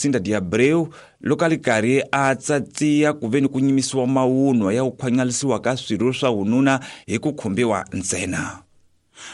Lucinda de Abreu loko a li karhi a tsatsiya ku ve ni ku nyimisiwa mawunwa ya ku khwanyalisiwa ka swirho swa vununa hi ku khumbiwa ntsena.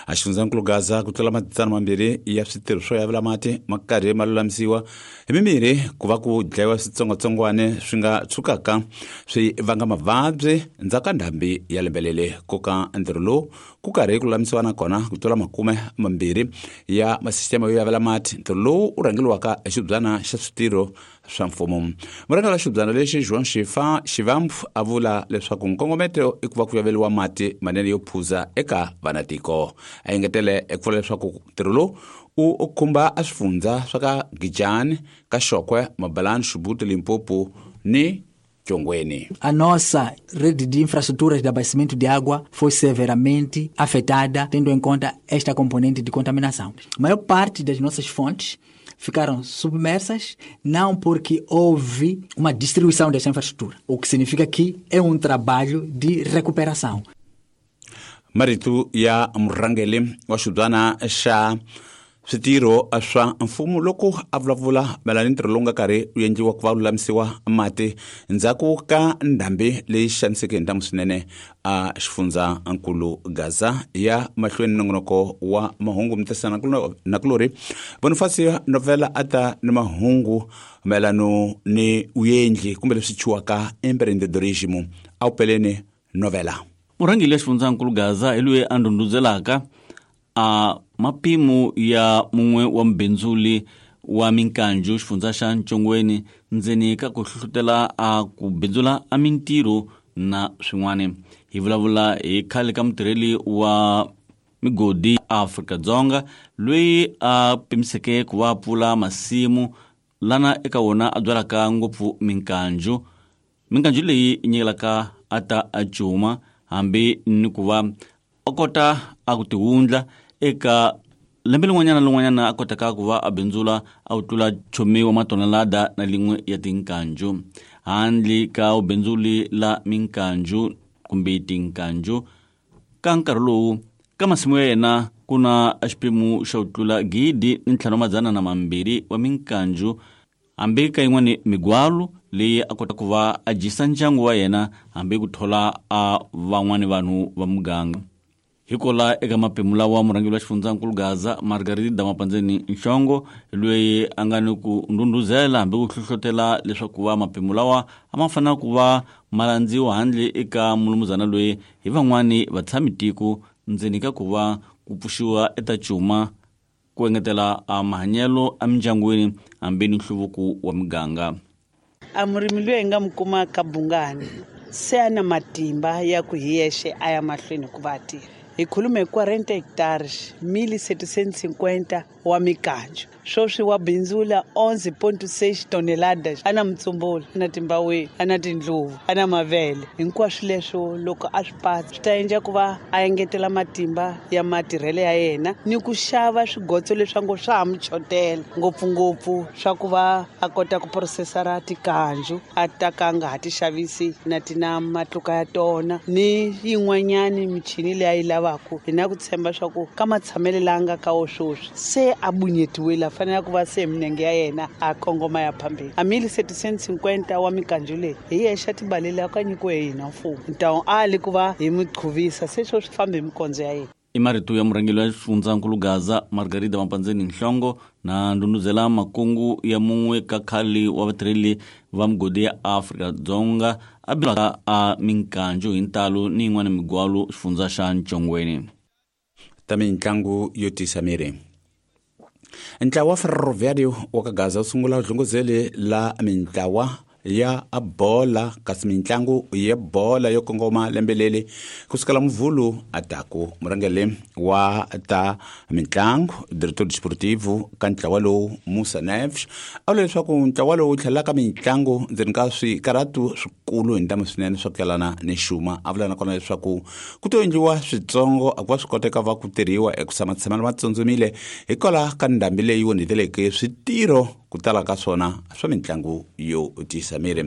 A xifundzankulu Gaza ku tlula 200 ya switirho swo yavela mati ma karhi ma lulamisiwa hi mimirhi ku va ku dlayiwa switsongwatsongwane swi nga tshukaka swi vanga mavabyi ndzhaku ka ndhambi ya lembe leri. Ku ka ntirho lowu ku karhi ku lulamisiwa nakona ku tlula 20 ya masisiteme yo yavela mati, ntirho lowu u rhangeliwaka hi xibyana xa switirho swa mfumo. Murhangeri wa xibyana lexi João Xifa Xivambu a vula leswaku nkongometo i ku va ku yaveliwa mati manene yo phuza eka vanatiko. A engetele eku vula leswaku ntirho lowu u khumba a swifundza swa ka Gijani, ka Xokwe, Mabalani, Xibuti, Limpopo ni Tshongweni. A nossa rede de infraestruturas de abastecimento de água foi severamente afetada, tendo em conta esta componente de contaminação. A maior parte das nossas fontes ficaram submersas, não porque houve uma destruição dessa infraestrutura, o que significa que é um trabalho de recuperação. Marito ya murhangeri wa xibyana xa switirho swa mfumo loko a vulavula mayelana ni ntirho lowu nga karhi wu endliwa ku va lulamisiwa mati ndzhaku ka ndhambi leyi xaniseke hi ntamu swinene a xifundzankulu Gaza. Ya mahlweni nongonoko wa mahungu mutesa nakulori Bonifacio Novela a ta ni mahungu mayelano ni vuendli kumbe leswi chuwaka empreendedorismo a wu peleni novela. Murhangeri ya xifundzankulu Gaza hi loyi a ndhundhuzelaka a mapimo ya mun'we wa mubindzuli wa minkanju xifundza xa Ntshongweni ndzeni ka ku hlohlotela a ku bindzula a mintirho na swin'wana. Hi vulavula hi khale ka mutirheli wa migodi Afrika-Dzonga loyi a pimiseke ku va pfula masimu lana eka wona a byalaka ngopfu minkanju. Minkanju leyi nyikelaka a ta a cuma hambi ni ku va a kota a ku tiwundla eka lembe lin'wanyana na lin'wanyana a kotaka ku va a bindzula a wu tlula chomi wa matonelada na lin'we ya tinkanju. Handle ka vubindzuli la minkanju kumbe tinkanju ka nkarhi lowu ka masimu ya yena ku na xiphemu xa ku tlula 1502 wa minkanju, hambi ka yin'wani migwalo leyi a kota ku va a dyisa ndyangu wa yena hambi ku thola a van'wani vanhu va muganga. Hikola eka mapemu lawa murhangeri wa xifundzankulu Gaza Margarida Mapandzeni Nhlongo loyi a nga ni ku ndhundhuzela hambi ku hlohlotela leswaku va mapemu lawa a ma fanele ku va ma landziwa handle eka mulumuzana loyi hi van'wani vatshami tiko ndzeni ka ku va ku pfuxiwa eta cuma ku engetela a mahanyelo emindyangwini hambi ni nhluvuko wa miganga. A murimi loyi hi nga mi kuma ka Bungani se a na matimba ya ku hi yexe a ya mahlweni ku va a tirha. Hi khulume hi 40 hectares, 1750 wa mikanjo. Sweswi wa bindzula 11.6 toneladas. A na mutsumbula, a na timbaweni, a na tindluvu, a na mavele. Hinkwaswo leswo loko a swi patsa swi ta endla ku va a engetela matimba ya matirhelo ya yena ni ku xava swigotso leswi ngo swa ha mu chotela, ngopfungopfu swa ku va a kota ku processara tikanju a ta ka a nga ha ti xavisi na ti na matluka ya tona ni yin'wanyani michini leyi a yi lavaka. Hi na ku tshemba swa ku ka matshamelo laha nga ka wo sweswi se a bunyetiwile, a fanele ku va se minenge ya yena a kongoma ya phambeni. A 1750 wa mikanju leyi hi yexe a tibalele a ka nyikiwe hi hina mfumo, ntawu a li ku va hi mi qhuvisa se swo swi fambe hi mikondzo ya yena. I marito ya murhangeri wa xifundzankulu Gaza Margarida Mapandzeni Nhlongo na ndhundhuzela makungu ya mun'we ka khale wa vatirheli va migodi ya Afrika-Dzonga a bilaka a minkanju hi ntalo ni yin'wana migwalo xifundza xa Ntshongweni. Ta mintlangu yo tisa miri. Ntlawa wa Ferroviário wa ka Gaza wu sungula dlunguzeli la mintlawa ya bola kasi mintlangu ya bola yo kongoma lembe leri kusukela Muvhulu ataku. Murhangeri wa ta mintlangu director desportivo ka ntlawa lowu Musa Neves a vula leswaku ntlawa lowu tlhelaka mintlangu ndzeni ka swikaratu swikulu hi ntamu swinene swa ku yelana ni xuma. A vula nakona leswaku ku to endliwa switsongo a ku va swi koteka va ku tirhiwa eku tshama tshamela ma tsundzumile hikwalaho ka ndhambi leyi onheteleke switirho ku tala ka swona swa mitlangu yo tiyisa miri.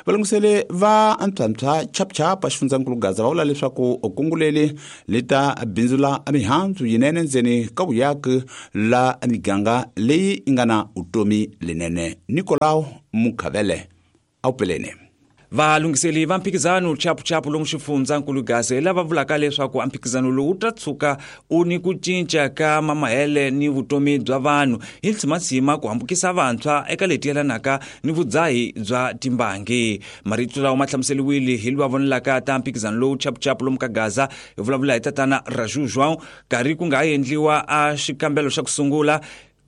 Valungiseli va antshwantshwa chapchap a xifundzankulu Gaza va vula leswaku kunguleli li ta bindzula mihandzu yinene ndzeni ka vuyaki la miganga leyi yi nga na vutomi lenene. Nicolau Mukhavele a wu peleni. Valunghiseli va mphikizano chapuchapu lomu xifundzankulu Gaza lava vulaka leswaku mphikizano lowu wu ta tshuka u ni ku cinca ka mamahele ni vutomi bya vanhu hi ntsimatsima ku hambukisa vantshwa eka leti yelanaka ni vudzahi bya timbangi. Marito lawa ma hlamuseliwile hi lwa vonelaka ta mphikizano lowu chapuchapu lomu ka Gaza hi vulavula hi tatana Raju João karhi ku nga ha endliwa a xikambelo xa ku sungula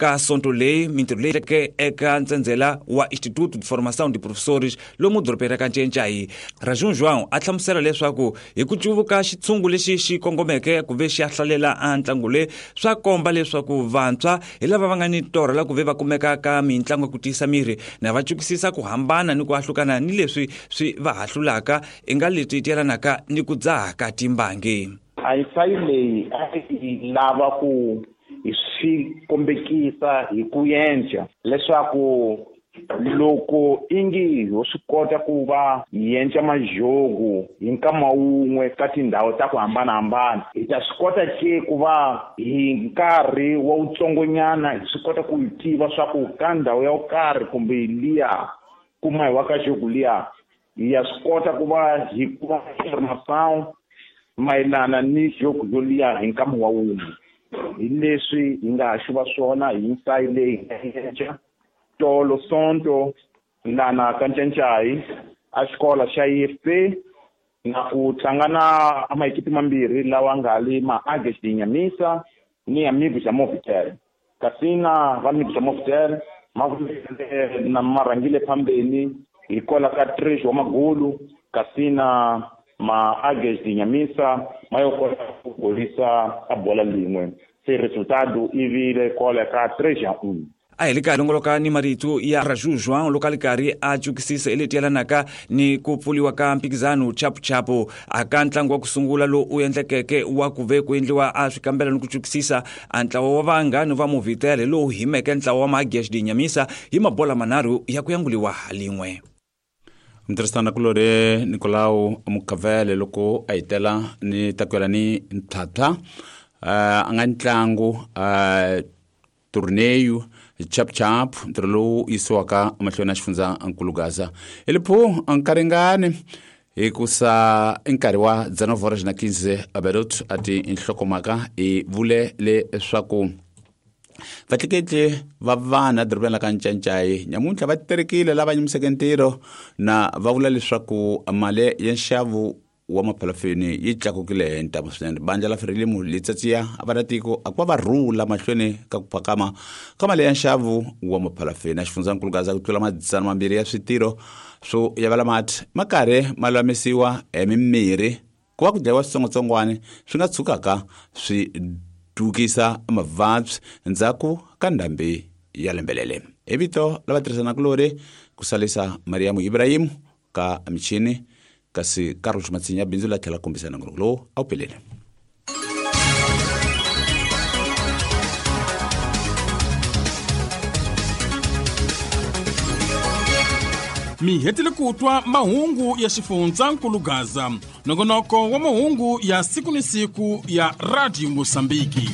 ka sonto leyi mintirho leyi ke eka ntsendzela wa Instituto de Formação de Professores lomu dorobeni ra ka Ncencai. Rajun João a hlamusela leswaku hi ku cuvuka xitshungu lexi xi kongomeke ku ve xi ya hlalela a ntlangu leyi swa komba leswaku vantshwa hi lava va nga ni torha la ku ve va kumeka ka mitlangu ya ku tiyisa miri na va cukisisa ku hambana ni ku ahlukana ni leswi swi va hahlulaka i nga leswi yelanaka ni ku dzaha ka timbangi. A ensayo leyi a yi lava ku hi swi kombekisa hi ku yenca leswaku loko ingi ho swi kota ku va hi yenca majogo hi nkama wun'we ka tindhawu ta ku hambanahambana, hi ta swi kota ke ku va hi nkarhi wa wutsongonyana hi swi kota ku yi tiva swa ku ka ndhawu ya ku karhi kumbe liya kuma hi wa ka jogo liya hi ya swi kota ku va hi kuma information mayelana ni jogo yoliya hi nkama wa wun'we. Hi leswi hi nga ha xuva swona hi nsayi leyi hi nga yenca tolo sonto lana ka Ncencai a xikolo xa IFP na ku tlanga na maekipi mambirhi lawa nga li ma Águias de Inhamisa ni Amigos ya Movitel. Kasi na va Amigos ya Movitel ma na marhangile phambeni hi kola ka 3 wa magulu, kasi na ma Águias de Inhamisa ma yo kota ku golisa a bola lin'we. Se resultado i vile kola ka 3-1. A hi le karhi longoloka ni marito ya Raju João loko a li karhi a cukisisa hi leti yelanaka ni ku pfuliwa ka mphikizano chapuchapu a ka ntlangu wa ku sungula lowu u endlekeke wa ku ve ku endliwa a swikambelo ni ku cukisisa a ntlawa wa vanghani va Movitel lowu himeke ntlawa wa Magias de Inhamisa hi mabola manharhu ya ku yanguliwa lin'we. Mutirhisana kulori Nicolau Mukavele loko a hitela ni takwela ni ntlhatlha a nga ntlangu torneio chap-chap ntirho lowu yisiwaka emahlweni ya xifundzankulu Gaza. Hi liphu nkaringani hikusa i nkarhi wa 19:15 Aberot a ti nhlokomhaka hi vule leswaku vatleketli va vana dorobeni la ka Ncancai nyamuntlha va terekile lava nyimiseke ntirho na va vula leswaku mali ya nxavo wa maphalafeni yi tlakukile hi ntamu swinene. Bandla la Frelimo li tsatsiya vamatiko a ku va va rhula mahlweni ka ku phakama ka mali ya nxavo wa maphalafeni. A xifundzankulu Gaza ku tlula 200 ya switirho swo yavela mati ma karhi ma lulamisiwa hi mimirhi ku va ku dlayiwa switsongwatsongwana swi nga tshukaka swi dukisa mavabyi ndzhaku ka ndhambi ya lembelele. Hi vito la vatirhisanakulori ku salisa Mariamu Ibrahim ka michini kasi Carlos Matsinya bindzu la tlhela kombisa nongonoko lowu a wu pelele. Mi hetile ku twa mahungu ya xifundzankulu Gaza, nongonoko wa mahungu ya siku ni siku ya Radio Mosambiki.